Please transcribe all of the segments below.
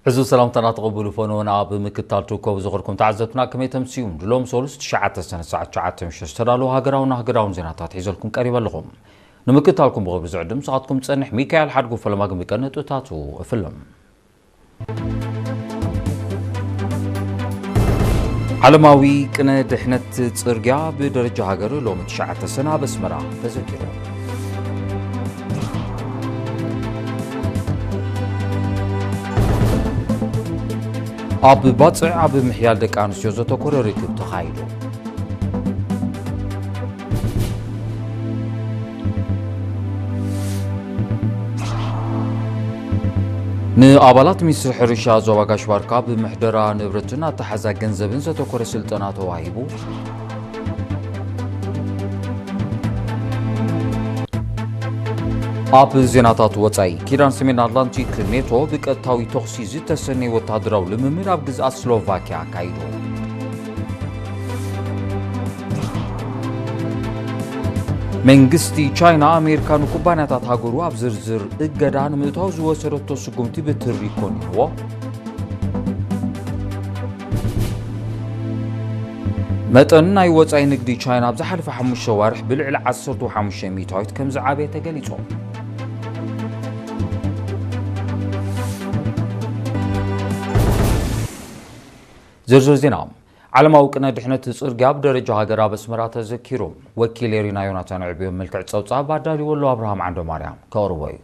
ሕዚ ሰላምታና ተቐብሉ ፈነወና ኣብ ምክታል ትርከቡ ዝኸርኩም ተዓዘብትና ከመይ ተምስዩም ድሎም ሶሉስ ትሽዓተ ሰነ ሰዓት ትሽዓተ ምሽት ዝተዳለዉ ሃገራውን ሃገራውን ዜናታት ሒዘልኩም ቀሪበ ኣለኹም። ንምክታልኩም ብኽብሪ ዝዕድም ንስኻትኩም ዝጸንሕ ሚካኤል ሓድጉ ፈለማ ግን ብቀንጥታቱ እፍልም። ዓለማዊ ቅነ ድሕነት ጽርግያ ብደረጃ ሃገር ሎሚ ትሽዓተ ሰነ ኣብ ኣስመራ ተዘኪሩ። ኣብ ባጽዕ ኣብ ምሕያል ደቂ ኣንስትዮ ዘተኮረ ርክብ ተኻይዱ። ንኣባላት ሚኒስትሪ ሕርሻ ዞባ ጋሽ ባርካ ብምሕደራ ንብረትን ኣተሓዛ ገንዘብን ዘተኮረ ስልጠና ተዋሂቡ። ኣብ ዜናታት ወጻኢ፣ ኪዳን ሰሜን ኣትላንቲክ ኔቶ ብቀጥታዊ ተኹሲ ዝተሰነየ ወታደራዊ ልምምድ ኣብ ግዝኣት ስሎቫኪያ ኣካይዱ። መንግስቲ ቻይና፣ ኣሜሪካ ንኩባንያታት ሃገሩ ኣብ ዝርዝር እገዳ ንምእታው ዝወሰደቶ ስጉምቲ ብትሪ ኮኒንዎ። መጠን ናይ ወጻኢ ንግዲ ቻይና ኣብ ዝሓለፈ ሓሙሽተ ዋርሕ ብልዕሊ ዓሰርተ ሓሙሽተ ሚእታዊት ከም ዝዓበየ ተገሊጹ። ዝርዝር ዜና። ዓለማዊ ቅነ ድሕነት ጽርግያ ኣብ ደረጃ ሃገር ኣብ ኣስመራ ተዘኪሩ። ወኪል ኤሪና ዮናታን ዕብዮ መልክዕ ጸብጻብ ኣዳልዎ ኣሎ ኣብርሃም ዓንደማርያም ከቕርቦ እዩ።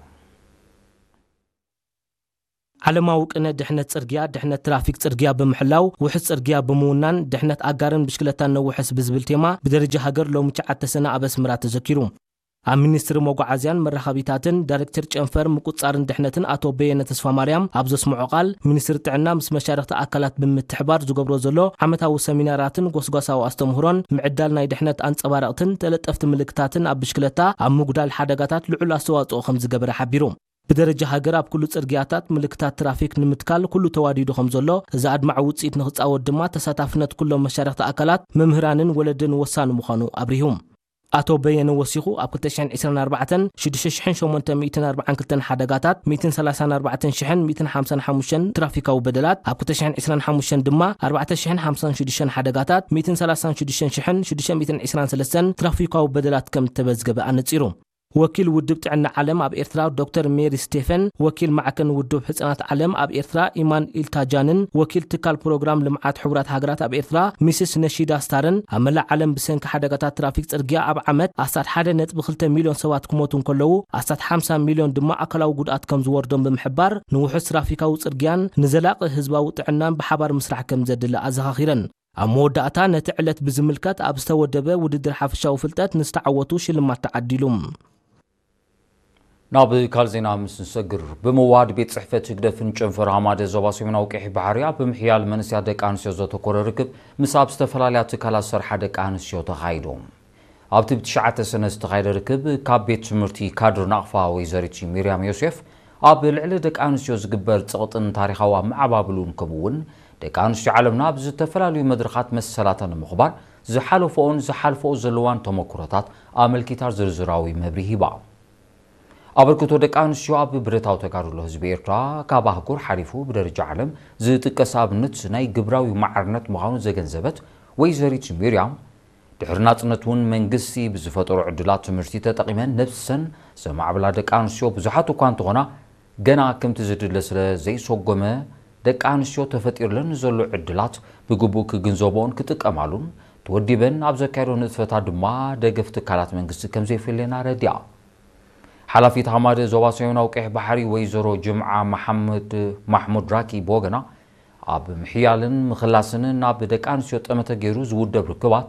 ዓለማዊ ቅነ ድሕነት ጽርግያ፣ ድሕነት ትራፊክ ጽርግያ ብምሕላው፣ ውሑስ ጽርግያ ብምውናን፣ ድሕነት ኣጋርን ብሽክለታን ነውሕስ ብዝብል ቴማ ብደረጃ ሃገር ሎሚ ትሽዓተ ሰነ ኣብ ኣስመራ ተዘኪሩ። ኣብ ሚኒስትሪ መጓዓዝያን መራኸቢታትን ዳይሬክተር ጨንፈር ምቁጽጻርን ድሕነትን ኣቶ በየነ ተስፋማርያም ኣብ ዘስምዖ ቃል፣ ሚኒስትሪ ጥዕና ምስ መሻርኽቲ ኣካላት ብምትሕባር ዝገብሮ ዘሎ ዓመታዊ ሰሚናራትን ጎስጓሳዊ ኣስተምህሮን ምዕዳል ናይ ድሕነት ኣንጸባረቕትን ተለጠፍቲ ምልክታትን ኣብ ብሽክለታ ኣብ ምጉዳል ሓደጋታት ልዑል ኣስተዋጽኦ ከም ዝገበረ ሓቢሩ። ብደረጃ ሃገር ኣብ ኩሉ ጽርግያታት ምልክታት ትራፊክ ንምትካል ኩሉ ተዋዲዱ ከም ዘሎ፣ እዚ ኣድማዒ ውጽኢት ንኽጻወት ድማ ተሳታፍነት ኩሎም መሻርኽቲ ኣካላት፣ መምህራንን ወለድን ወሳኒ ምዃኑ ኣብሪሁ። ኣቶ በየነ ወሲኹ፣ ኣብ ክልተ ሽሕን ዕስራን ኣርባዕተን ሽዱሽተ ሽሕን ሸሞንተ ሚእትን ኣርባዓን ክልተን ሓደጋታት፣ ሚእትን ሰላሳን ኣርባዕተን ሽሕን ሚእትን ሓምሳን ሓሙሽተን ትራፊካዊ በደላት፣ ኣብ ክልተ ሽሕን ዕስራን ሓሙሽተን ድማ ኣርባዕተ ሽሕን ሓምሳን ሽዱሽተን ሓደጋታት፣ ሚእትን ሰላሳን ሽዱሽተን ሽሕን ሽዱሽተ ሚእትን ዕስራን ሰለስተን ትራፊካዊ በደላት ከም እተመዝገበ ኣነጺሩ። ወኪል ውድብ ጥዕና ዓለም ኣብ ኤርትራ ዶክተር ሜሪ ስቴፈን፣ ወኪል ማዕከን ውድብ ሕጻናት ዓለም ኣብ ኤርትራ ኢማን ኢልታጃንን፣ ወኪል ትካል ፕሮግራም ልምዓት ሕቡራት ሃገራት ኣብ ኤርትራ ሚስስ ነሺዳ ስታርን፣ ኣብ መላእ ዓለም ብሰንኪ ሓደጋታት ትራፊክ ጽርግያ ኣብ ዓመት ኣስታት ሓደ ነጥቢ ክልተ ሚልዮን ሰባት ክሞቱ እንከለዉ፣ ኣስታት ሓምሳ ሚልዮን ድማ ኣካላዊ ጉድኣት ከም ዝወርዶም ብምሕባር፣ ንውሑስ ትራፊካዊ ጽርግያን ንዘላቒ ህዝባዊ ጥዕናን ብሓባር ምስራሕ ከም ዘድሊ ኣዘኻኺረን። ኣብ መወዳእታ፣ ነቲ ዕለት ብዝምልከት ኣብ ዝተወደበ ውድድር ሓፈሻዊ ፍልጠት ንዝተዓወቱ ሽልማት ተዓዲሉ። ናብ ካልእ ዜና ምስ ንሰግር፣ ብምውሃድ ቤት ጽሕፈት ህግደፍን ጨንፈር ሃማደ ዞባ ሰሜናዊ ቀይሕ ባሕሪ ኣብ ምሕያል መንእሰያት ደቂ ኣንስትዮ ዘተኮረ ርክብ ምስ ኣብ ዝተፈላለያ ትካላት ዝሰርሓ ደቂ ኣንስትዮ ተኻይዱ። ኣብቲ ብትሽዓተ ሰነ ዝተኻየደ ርክብ፣ ካብ ቤት ትምህርቲ ካድር ናቕፋ ወይዘሪት ሚርያም ዮሴፍ፣ ኣብ ልዕሊ ደቂ ኣንስትዮ ዝግበር ጸቕጥን ታሪኻዊ ኣመዓባብሉን፣ ከምኡ እውን ደቂ ኣንስትዮ ዓለምና ኣብ ዝተፈላለዩ መድረኻት መሰላተን ንምኽባር ዝሓለፈኦን ዝሓልፈኦ ዘለዋን ተመክሮታት ኣመልኪታ ዝርዝራዊ መብርሂ ሂባ። ኣበርክቶ ደቂ ኣንስትዮ ኣብ ብረታዊ ተጋድሎ ህዝቢ ኤርትራ ካብ ኣህጉር ሓሊፉ ብደረጃ ዓለም ዝጥቀስ ኣብነት ናይ ግብራዊ ማዕርነት ምዃኑ ዘገንዘበት ወይዘሪት ሚርያም፣ ድሕሪ ናጽነት እውን መንግስቲ ብዝፈጠሮ ዕድላት ትምህርቲ ተጠቒመን ነብሰን ዘማዕብላ ደቂ ኣንስትዮ ብዙሓት እኳ እንተኾና፣ ገና ከምቲ ዝድለ ስለ ዘይሰጎመ፣ ደቂ ኣንስትዮ ተፈጢርለን ንዘሎ ዕድላት ብግቡእ ክግንዘብኦን ክጥቀማሉን፣ ተወዲበን ኣብ ዘካየዶ ንጥፈታት ድማ ደገፍ ትካላት መንግስቲ ከም ዘየፍልየን ኣረዲኣ። ሓላፊት ሃማደ ዞባ ሰሜናዊ ቀይሕ ባሕሪ ወይዘሮ ጅምዓ መሓመድ ማሕሙድ ራኪ ብወገና፣ ኣብ ምሕያልን ምኽላስን ናብ ደቂ ኣንስትዮ ጠመተ ገይሩ ዝውደብ ርክባት፣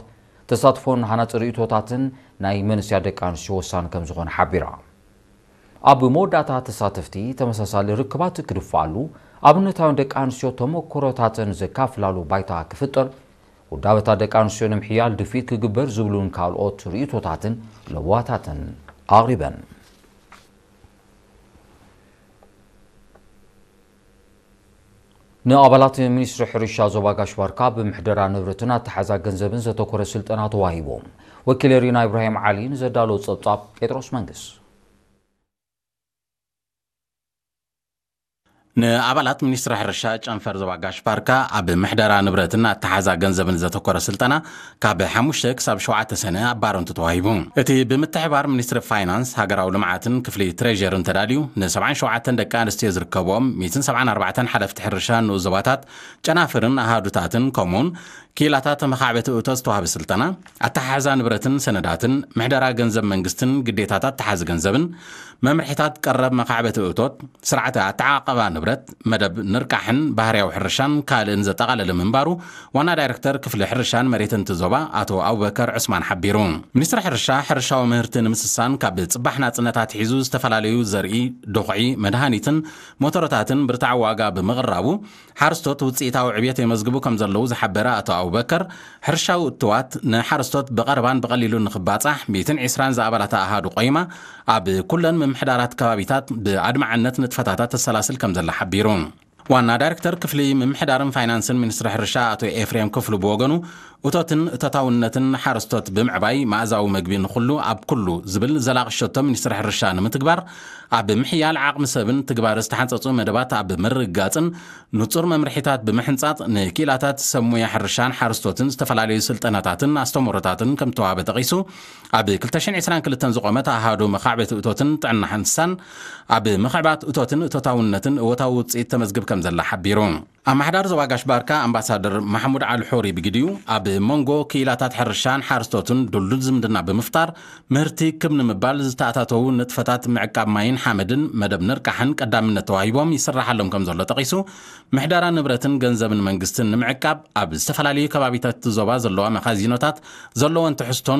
ተሳትፎን ሃናጺ ርእይቶታትን ናይ መንእሰያት ደቂ ኣንስትዮ ወሳኒ ከም ዝኾነ ሓቢራ። ኣብ መወዳእታ፣ ተሳተፍቲ ተመሳሳሊ ርክባት ክድፍኣሉ፣ ኣብነታውያን ደቂ ኣንስትዮ ተመክሮታተን ዘካፍላሉ ባይታ ክፍጠር፣ ውዳበታት ደቂ ኣንስትዮ ንምሕያል ድፍኢት ክግበር ዝብሉን ካልኦት ርእይቶታትን ለበዋታትን ኣቕሪበን። ንኣባላት ሚኒስትሪ ሕርሻ ዞባ ጋሽ ባርካ ብምሕደራ ንብረትን ኣተሓዛ ገንዘብን ዘተኮረ ስልጠና ተዋሂቡ። ወኪል ኤሪና ኢብራሂም ዓሊ ንዘዳለዎ ጸብጻብ ጴጥሮስ መንግስ። ንኣባላት ሚኒስትሪ ሕርሻ ጨንፈር ዞባ ጋሽ ባርካ ኣብ ምሕደራ ንብረትን ኣተሓዛ ገንዘብን ዘተኮረ ስልጠና ካብ ሓሙሽተ ክሳብ ሸውዓተ ሰነ ኣብ ባረንቱ ተዋሂቡ። እቲ ብምትሕባር ሚኒስትሪ ፋይናንስ፣ ሃገራዊ ልምዓትን ክፍሊ ትሬዠርን ተዳልዩ፣ ን ሰብዓን ሸውዓተን ደቂ ኣንስትዮ ዝርከብኦም ሚእትን ሰብዓን ኣርባዕተን ሓለፍቲ ሕርሻ ንኡስ ዞባታት፣ ጨናፍርን ኣሃዱታትን፣ ከምኡውን ክኢላታት መኻዕበቲ እቶት ዝተዋህበ ስልጠና፣ ኣተሓሕዛ ንብረትን ሰነዳትን፣ ምሕደራ ገንዘብ መንግስትን ግዴታታት ተሓዚ ገንዘብን፣ መምርሒታት ቀረብ መኻዕበቲ እቶት፣ ስርዓተ ኣተዓቐባ ንብረት፣ መደብ ንርቃሕን ባህርያዊ ሕርሻን ካልእን ዘጠቓለለ ምንባሩ ዋና ዳይሬክተር ክፍሊ ሕርሻን መሬትን እቲ ዞባ ኣቶ ኣቡበከር ዑስማን ሓቢሩ። ሚኒስትሪ ሕርሻ፣ ሕርሻዊ ምህርቲ ንምስሳን ካብ ጽባሕ ናጽነት ኣትሒዙ ዝተፈላለዩ ዘርኢ፣ ድኹዒ፣ መድሃኒትን ሞተሮታትን ብርታዕ ዋጋ ብምቕራቡ፣ ሓረስቶት ውጽኢታዊ ዕብየት የመዝግቡ ከም ዘለዉ ዝሓበረ ኣቶ ኣቡበከር፣ ሕርሻዊ እትዋት ንሓረስቶት ብቐረባን ብቐሊሉ ንኽባጻሕ ሚእትን ዕስራን ዝኣባላታ ኣሃዱ ቆይማ ኣብ ኩለን ምምሕዳራት ከባቢታት ብኣድማዕነት ንጥፈታታ ተሰላስል ከም ዘላ ሓቢሩ። ዋና ዳይሬክተር ክፍሊ ምምሕዳርን ፋይናንስን ሚኒስትሪ ሕርሻ ኣቶ ኤፍሬም ክፍሉ ብወገኑ፣ እቶትን እቶታውነትን ሓረስቶት ብምዕባይ መኣዛዊ መግቢ ንኹሉ ኣብ ኩሉ ዝብል ዘላቒ ሸቶ ሚኒስትሪ ሕርሻ ንምትግባር፣ ኣብ ምሕያል ዓቕሚ ሰብን ትግባረ ዝተሓንጸጹ መደባት ኣብ ምርግጋጽን ንጹር መምርሒታት ብምሕንጻጽ ንኪኢላታት ሰብ ሙያ ሕርሻን ሓረስቶትን ዝተፈላለዩ ስልጠናታትን ኣስተምህሮታትን ከም ተዋህበ ጠቒሱ፣ ኣብ ክልተ ሽሕን ዕስራን ክልተን ዝቖመት ኣሃዱ መኻዕበቲ እቶትን ጥዕና እንስሳን ኣብ ምኽዕባት እቶትን እቶታውነትን እወታዊ ውጽኢት ተመዝግብ ከም ዘላ ሓቢሩ። ኣመሓዳሪ ዞባ ጋሽ ባርካ ኣምባሳደር ማሕሙድ ዓሊ ሑሪ ብግዲኡ፣ ኣብ መንጎ ክኢላታት ሕርሻን ሓረስቶትን ድልዱል ዝምድና ብምፍጣር፣ ምህርቲ ክብ ንምባል ዝተኣታተዉ ንጥፈታት ምዕቃብ ማይን ሓመድን መደብ ንርቃሕን ቀዳምነት ተዋሂቦም ይስራሓሎም ከም ዘሎ ጠቒሱ፣ ምሕደራ ንብረትን ገንዘብን መንግስትን ንምዕቃብ ኣብ ዝተፈላለዩ ከባቢታት እቲ ዞባ ዘለዋ መኻዚኖታት ዘለወን ትሕዝቶን